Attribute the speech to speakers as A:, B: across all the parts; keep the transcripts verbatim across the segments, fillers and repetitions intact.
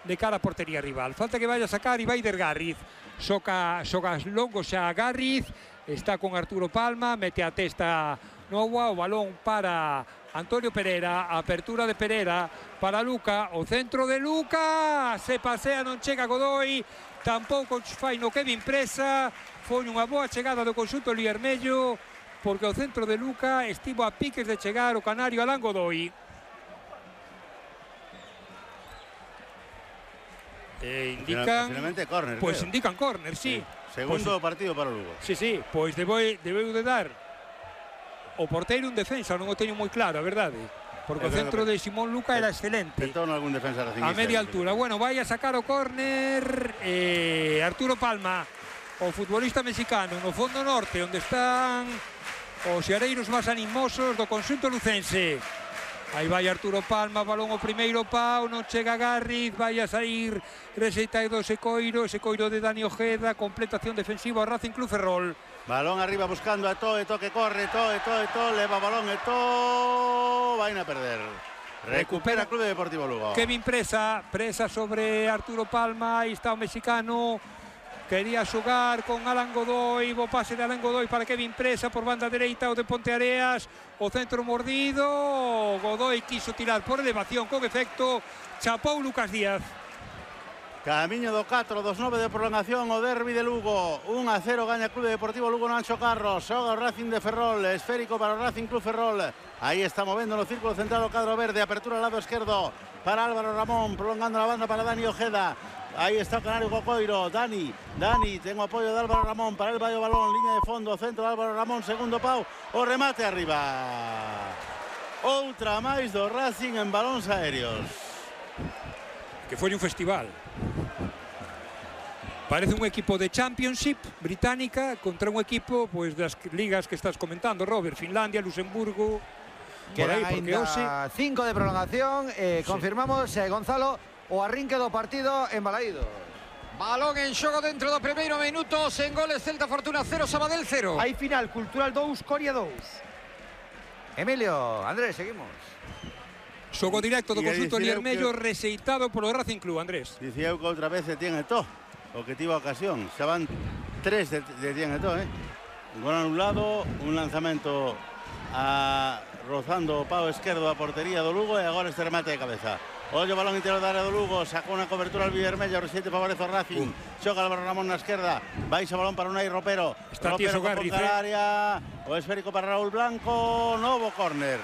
A: de cara a portería rival. Falta que vaya a sacar Ibaider Garriz. Xoca, xoca longo xa Garriz, está con Arturo Palma, mete a testa Novoa, o balón para Antonio Pereira, apertura de Pereira para Luca, o centro de Luca, se pasea, non chega Godoy, tampouco fai no Kevin Presa, foi unha boa chegada do conxunto liermello, porque o centro de Luca estivo a piques de chegar o canario Alan Godoy. Eh, indican,
B: finalmente córner,
A: pues
B: creo.
A: indican córner, sí.
B: sí. Segundo
A: pues,
B: partido para o Lugo.
A: Sí, sí, pois debeu, debeu de dar o porteiro un defensa, non o teño moi claro, a verdade. Porque o centro de Simón Luca era excelente.
B: Tentou algún defensa
A: a media altura. Bueno, vai a sacar o córner eh, Arturo Palma, o futbolista mexicano, no fondo norte, onde están os xareiros máis animosos do conxunto lucense. Aí vai Arturo Palma, balón o primeiro pau, non chega Garriz, vai a sair rexeitado ese coiro, ese coiro de Dani Ojeda, completación defensiva ao Racing Club Ferrol.
B: Balón arriba buscando a Eto'o, Eto'o que corre, Eto'o, Eto'o, Eto'o, leva balón, Eto'o, vai a perder. Recupera Club Deportivo Lugo.
A: Kevin Presa, Presa sobre Arturo Palma, aí está o mexicano. Quería xogar con Alan Godoy, bo pase de Alan Godoy para Kevin Presa por banda dereita, o de Ponteareas, o centro mordido, Godoy quiso tirar por elevación con efecto, chapou Lucas Díaz.
B: Camiño do catro dos nove de prolongación, o derbi de Lugo, un a cero gaña Club Deportivo Lugo no Anxo Carros, xoga o Racing de Ferrol, esférico para o Racing Club Ferrol, aí está movendo no círculo central o cadro verde, apertura al lado esquerdo para Álvaro Ramón, prolongando la banda para Dani Ojeda. Aí está o canario Cocoiro, Dani, Dani, tengo apoio de Álvaro Ramón, para el vai o balón, línea de fondo, centro de Álvaro Ramón, segundo pau, o remate arriba. Outra máis do Racing en balóns aéreos.
A: Que foi un festival. Parece un equipo de Championship británica contra un equipo pues, das ligas que estás comentando, Robert, Finlandia, Luxemburgo.
C: Quedan ainda cinco de prolongación, eh, confirmamos, eh, Gonzalo, o arrinque do partido en Balaído.
D: Balón en xogo dentro do primeiro minuto, sen goles, Celta Fortuna cero, Sabadell cero.
C: Hai final, Cultural dous, Coria dous. Emilio, Andrés, seguimos.
A: Xogo directo do conxunto liermello que... rexeitado polo Racing Club, Andrés.
B: Dicía eu que outra vez se tiene Eto'o, o que tivo a ocasión. Xa van tres de, de tiene Eto'o, eh. Un gol anulado, un lanzamento a rozando o pau esquerdo da portería do Lugo e agora este remate de cabeza. Ollo balón interior da área do Lugo, sacou unha cobertura al Vivermello, o reciente favorece o Racing. Uh. Xoga Álvaro Ramón na esquerda, baixa balón para Unai Ropero.
A: Está
B: Ropero
A: con Garriz,
B: eh? área, o esférico para Raúl Blanco, novo córner.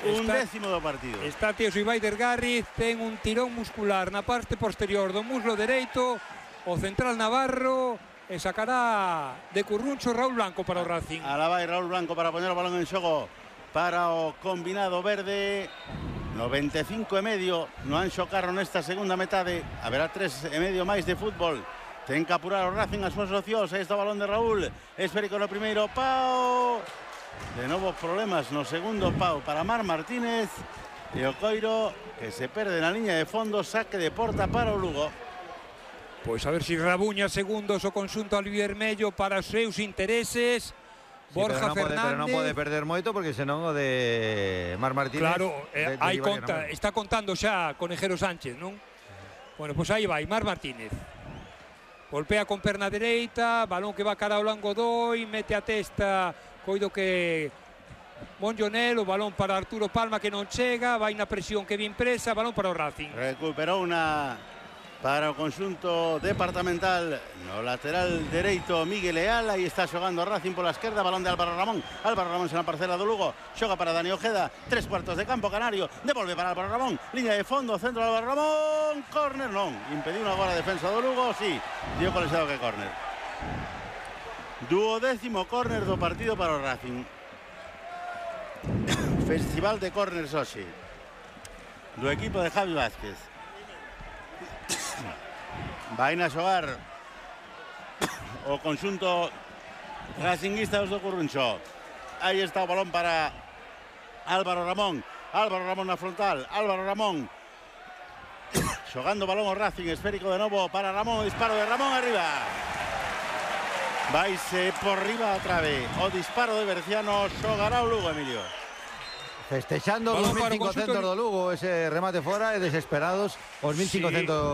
B: Un
A: está,
B: décimo do partido.
A: Está Tieso Ibaider Garriz, ten un tirón muscular na parte posterior do muslo dereito, o central Navarro, e sacará de curruncho Raúl Blanco para o Racing.
B: Alá vai Raúl Blanco para poñer o balón en xogo para o combinado verde. noventa e cinco e medio no Anxo Carro nesta segunda metade. Haberá tres e medio máis de fútbol. Ten que apurar o Racing as súas opcións. Aí está o balón de Raúl, esférico no primeiro pau. De novo problemas no segundo pau para Mar Martínez. E o coiro que se perde na liña de fondo, saque de porta para o Lugo.
A: Pois a ver se si rabuña segundos o conxunto albivermello para os seus intereses.
C: Sí, Borja pero no Fernández. Pode, pero non pode perder moito porque senón o de Mar Martínez.
A: Claro, eh, aí conta, está contando xa Conejero Sánchez, non? Bueno, pois aí vai Mar Martínez. Golpea con perna dereita, balón que va cara ao Alan Godoy, mete a testa, coido que Monjonel, o balón para Arturo Palma que non chega, vai na presión Kevin Presa, balón para o Racing.
B: Recuperou unha para o conxunto departamental no lateral dereito Miguel Leal, aí está xogando Racing pola esquerda, balón de Álvaro Ramón, Álvaro Ramón na parcela do Lugo, xoga para Dani Ojeda, tres cuartos de campo canario, devolve para Álvaro Ramón, liña de fondo, centro de Álvaro Ramón, córner non, impediu agora a defensa do Lugo, sí, dio colexado que córner. Duodécimo córner do partido para o Racing. Festival de córners hoxe do equipo de Javi Vázquez. Vai a xogar o conxunto racinguista do Curruncho. Aí está o balón para Álvaro Ramón. Álvaro Ramón na frontal. Álvaro Ramón xogando o balón ao Racing, esférico de novo para Ramón, disparo de Ramón arriba. Vaise por riba a trave. O disparo de Berciano, xogará o Lugo, Emilio.
C: Festexando os mil cincocentos do Lugo, ese remate fora e desesperados os mil cincocentos. Sí.